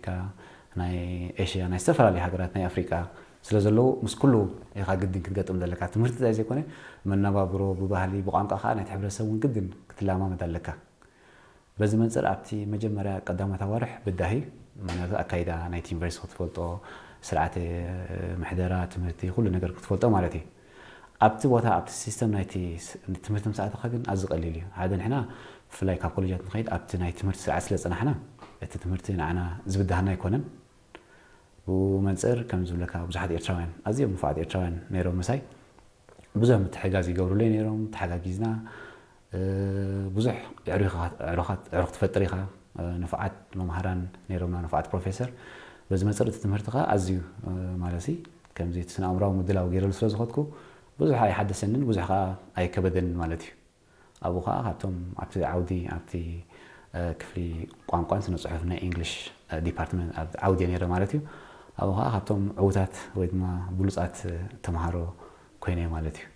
ኣሜሪካ፣ ናይ ኤሽያ፣ ናይ ዝተፈላለዩ ሃገራት ናይ ኣፍሪቃ ስለ ዘለዉ ምስ ኩሉ ኢኻ ግድን ክትገጥም ዘለካ። ትምህርቲ ጥራይ ዘይኮነ መነባብሮ፣ ብባህሊ፣ ብቋንቋ ከዓ ናይቲ ሕብረተሰብ እውን ግድን ክትለማመድ ኣለካ። በዚ መንፅር ኣብቲ መጀመርያ ቀዳሞት ኣዋርሕ ብዳሂ፣ ምክንያቱ ኣካይዳ ናይቲ ዩኒቨርሲቲ ክትፈልጦ፣ ስርዓተ ምሕደራ ትምህርቲ ኩሉ ነገር ክትፈልጦ ማለት እዩ። ኣብቲ ቦታ ኣብቲ ሲስተም ናይቲ ትምህርቲ ምስ ኣተኻ ግን ኣዝዩ ቀሊል እዩ። ሓደ ንሕና ብፍላይ ካብ ኮሌጃት ንኸይድ ኣብቲ ናይ ትምህርቲ ስርዓት ስለ ዝፀናሕና እቲ ትምህርቲ ንዓና ዝብድሃና ኣይኮነን። ብኡ መንፅር ከም ዝብለካ ብዙሓት ኤርትራውያን ኣዝዮም ንፉዓት ኤርትራውያን ነይሮም ምሳይ ብዙሕ ምትሕጋዝ ይገብሩለይ ነይሮም። ተሓጋጊዝና ብዙሕ ዕሩኻት ዕሩኽ ትፈጥር ኢኻ። ንፉዓት መምሃራን ነይሮምና፣ ንፉዓት ፕሮፌሰር። በዚ መፅር እቲ ትምህርቲ ከዓ ኣዝዩ ማለት ከምዚ እቲ ስነ ኣእምራዊ ምድላው ገይረሉ ስለ ዝኸድኩ ብዙሕ ኣይሓደሰንን፣ ብዙሕ ከዓ ኣይከበደንን ማለት እዩ። ኣብኡ ከዓ ካብቶም ኣብቲ ዓውዲ ኣብቲ ክፍሊ ቋንቋን ስነ ፅሑፍ ናይ ኢንግሊሽ ዲፓርትመንት ኣብ ዓውዲ ነይረ ማለት እዩ። ኣብኡ ከዓ ካብቶም ዕውታት ወይ ድማ ብሉፃት ተምሃሮ ኮይነ ማለት እዩ።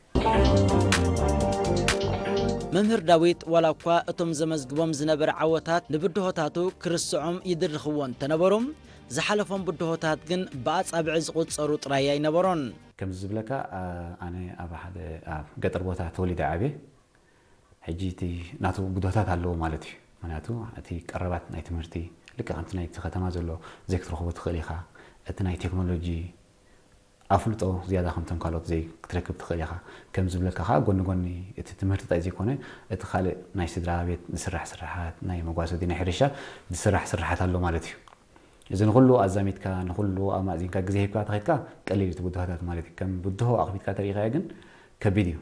መምህር ዳዊት ዋላ እኳ እቶም ዘመዝግቦም ዝነበረ ዓወታት ንብድሆታቱ ክርስዖም ይድርኽዎ እንተነበሩ፣ ዝሓለፎም ብድሆታት ግን ብኣጻብዕ ዝቑጸሩ ጥራይ ኣይነበሮን። ከምዚ ዝብለካ ኣነ ኣብ ሓደ ኣብ ገጠር ቦታ ተወሊደ ዓብየ። ሕጂ እቲ ናቱ ብድሆታት ኣለዎ ማለት እዩ። ምክንያቱ እቲ ቀረባት ናይ ትምህርቲ ልክዕ ከምቲ ናይቲ ከተማ ዘሎ ዘይክትረኽቦ ትኽእል ኢኻ። እቲ ናይ ቴክኖሎጂ ኣፍልጦ ዝያዳ ከምቶም ካልኦት ዘይ ክትረክብ ትኽእል ኢኻ። ከም ዝብለካ ከዓ ጎኒ ጎኒ እቲ ትምህርቲ ጥራይ ዘይኮነ እቲ ካልእ ናይ ስድራ ቤት ዝስራሕ ስራሓት ናይ መጓሰዲ ናይ ሕርሻ ዝስራሕ ስራሓት ኣሎ ማለት እዩ። እዚ ንኩሉ ኣዛሚድካ ንኩሉ ኣማእዚንካ ግዜ ሂብካ ተኸድካ ቀሊል እዩ እቲ ብድሆታት ማለት እዩ። ከም ብድሆ ኣኽቢድካ ተሪኢኻዮ ግን ከቢድ እዩ።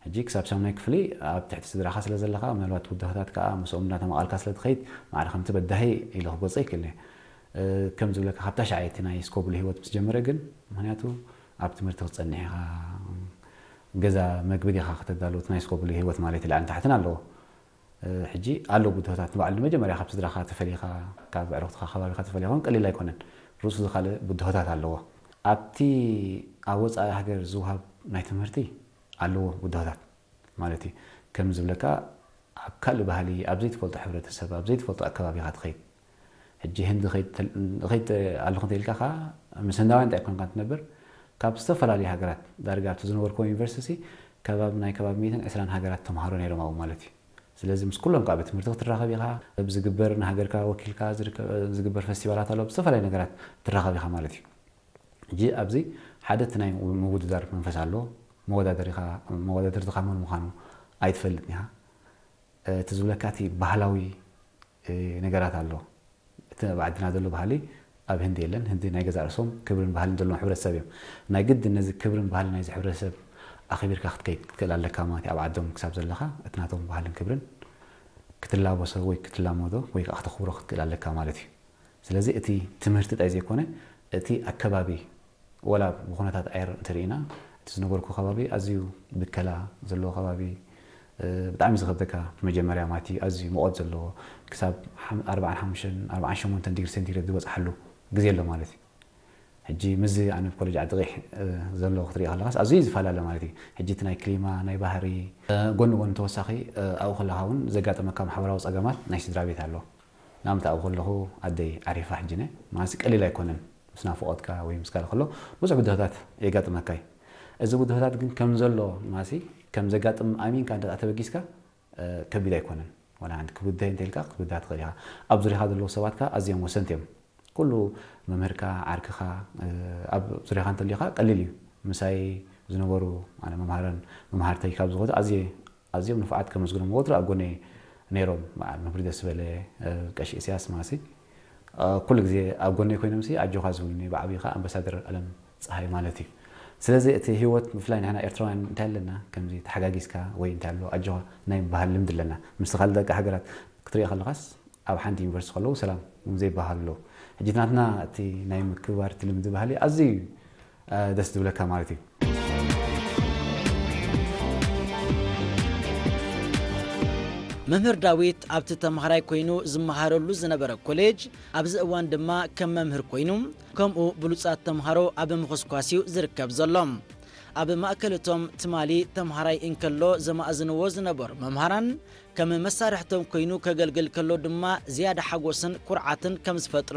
ሕጂ ክሳብ ሳሙናይ ክፍሊ ኣብ ትሕቲ ስድራኻ ስለ ዘለኻ ምናልባት ብድሆታት ከዓ ምስኦም እናተማቓልካ ስለ ትኸይድ ማዕረ ከምቲ በዳሂ ኢለ ክገልጾ ይክእል እየ። ከም ዝብለካ ካብ ታሽዓይ እቲ ናይ ስኮብሉ ህይወት ምስ ጀመረ ግን ምክንያቱ ኣብ ትምህርቲ ክትጸንሕ ኢኻ፣ ገዛ መግቢ ዲኻ ከተዳሉ እቲ ናይ ስኮብሉ ህይወት ማለት እዩ ላዕልን ታሕትን ኣለዎ። ሕጂ ኣሎ ብድሆታት ንባዕሉ ንመጀመርያ ካብ ስድራኻ ተፈሊኻ ካብ ኣዕሩኽትኻ ከባቢኻ ተፈሊኻ እውን ቀሊል ኣይኮነን። ርእሱ ዝኻልእ ብድሆታት ኣለዎ። ኣብቲ ኣብ ወፃኢ ሃገር ዝውሃብ ናይ ትምህርቲ ኣለዎ ብድሆታት ማለት እዩ። ከም ዝብለካ ኣብ ካልእ ባህሊ ኣብ ዘይትፈልጦ ሕብረተሰብ ኣብ ዘይትፈልጦ ኣከባቢ ኢኻ ትኸይድ። ሕጂ ህንዲ እኸይድ ኣለኹ እንተኢልካ ከዓ ምስ ህንዳውያን እንታይ ኮንካ ትነብር ካብ ዝተፈላለዩ ሃገራት ዳርጋ ኣብቲ ዝነበርኩዎ ዩኒቨርሲቲ ከባቢ ናይ ከባቢ ሚእትን ዕስራን ሃገራት ተምሃሮ ነይሮም ኣብኡ ማለት እዩ። ስለዚ ምስ ኩሎም ከዓ ቤት ትምህርቲ ክትራኸብ ኢኻ። ዝግበር ንሃገርካ ወኪልካ ዝግበር ፈስቲቫላት ኣሎ ብዝተፈላለዩ ነገራት ትራኸብ ኢኻ ማለት እዩ። ሕጂ ኣብዚ ሓደ እቲ ናይ ምውድዳር መንፈስ ኣሎ። መወዳደሪኻ መወዳደርትኻ መን ምዃኑ ኣይትፈልጥን ኢኻ። እቲ ዝብለካ እቲ ባህላዊ ነገራት ኣሎ። እቲ ኣብ ዓድና ዘሎ ባህሊ ኣብ ህንዲ የለን። ህንዲ ናይ ገዛእ ርእሶም ክብርን ባህልን ዘለዎም ሕብረተሰብ እዮም። ናይ ግድን ነዚ ክብርን ባህልን ናይዚ ሕብረተሰብ ኣኺቢርካ ክትከይድ ክትክእል ኣለካ ማለት እዩ። ኣብ ዓዶም ክሳብ ዘለኻ እቲ ናቶም ባህልን ክብርን ክትላበሶ ወይ ክትላመዶ ወይ ከዓ ክተኽብሮ ክትክእል ኣለካ ማለት እዩ። ስለዚ እቲ ትምህርቲ ጥራይ ዘይኮነ እቲ ኣከባቢ ወላ ብኩነታት ኣየር እንተርኢና እቲ ዝነበርኩ ከባቢ ኣዝዩ ብከላ ዘለዎ ከባቢ ብጣዕሚ ዝኸብደካ መጀመርያ ማለት እዩ። ኣዝዩ ሙቐት ዘለዎ ክሳብ ኣርባዓን ሓሙሽተን ኣርባዓን ሸሞንተን ዲግሪ ሴንቲግሬድ ዝበፅሓሉ ግዜ ኣሎ ማለት እዩ። ሕጂ ምስዚ ኣነ ኮሌጅ ዓዲ ቂሕ ዘሎ ክትርኢ ከለካስ ኣዝዩ ዝፈላለ ማለት እዩ። ሕጂ እቲ ናይ ክሊማ ናይ ባህሪ ጎኒ ጎኒ ተወሳኺ ኣብኡ ከለካ እውን ዘጋጠመካ ማሕበራዊ ፀገማት ናይ ስድራ ቤት ኣሎ። ንኣብነት ኣብኡ ከለኹ ኣደይ ዓሪፋ ሕጂ ነ ማለት ቀሊል ኣይኮነን። ምስ ናፍቖትካ ወይ ምስ ካልእ ከሎ ብዙሕ ብድሆታት የጋጥመካ እዩ። እዚ ብድሆታት ግን ከም ዘሎ ማሲ ከም ዘጋጥም ኣሚንካ እንተ ተበጊስካ ከቢድ ኣይኮነን። ዋላ ሓንቲ ክብድህ እንተ ኢልካ ክትብድሃ ትኽእል ኢኻ። ኣብ ዙሪኻ ዘለዉ ሰባት ከኣ ኣዝዮም ወሰንቲ እዮም። ኩሉ መምህርካ፣ ዓርክኻ ኣብ ዙሪኻ እንተሊኻ ቀሊል እዩ። ምሳይ ዝነበሩ ኣነ መምሃረን መምሃርተይ ካብ ዝኾኑ ኣዝየ ኣዝዮም ንፉዓት ከመስግኖም ወትሩ ኣብ ጎነይ ነይሮም። በዓል መምህር ደስበለ፣ ቀሺ ኢሳያስ ማሲ ኩሉ ግዜ ኣብ ጎነይ ኮይኖም ሲ ኣጆኻ ዝብሉኒ ብዓብዩ ከዓ ኣምባሳደር ኣለም ፀሃይ ማለት እዩ። ስለዚ እቲ ህይወት ብፍላይ ንሕና ኤርትራውያን እንታይ ኣለና ከምዚ ተሓጋጊዝካ ወይ እንታይ ኣሎ ኣጆኻ ናይ ምባሃል ልምዲ ኣለና። ምስ ካልእ ደቂ ሃገራት ክትሪኦ ከለኻስ ኣብ ሓንቲ ዩኒቨርሲቲ ከለዉ ሰላም እውን ዘይበሃሉ ኣለዉ። ሕጂ ናትና እቲ ናይ ምክብባር እቲ ልምዲ ባህሊ ኣዝዩ እዩ ደስ ዝብለካ ማለት እዩ። መምህር ዳዊት ኣብቲ ተምሃራይ ኮይኑ ዝመሃረሉ ዝነበረ ኮሌጅ ኣብዚ እዋን ድማ ከም መምህር ኮይኑ ከምኡ ብሉጻት ተምሃሮ ኣብ ምኹስኳስ እዩ ዝርከብ ዘሎ። ኣብ ማእከል እቶም ትማሊ ተምሃራይ እንከሎ ዘማእዝንዎ ዝነበሩ መምሃራን ከም መሳርሕቶም ኮይኑ ከገልግል ከሎ ድማ ዝያዳ ሓጎስን ኩርዓትን ከም ዝፈጥረሉ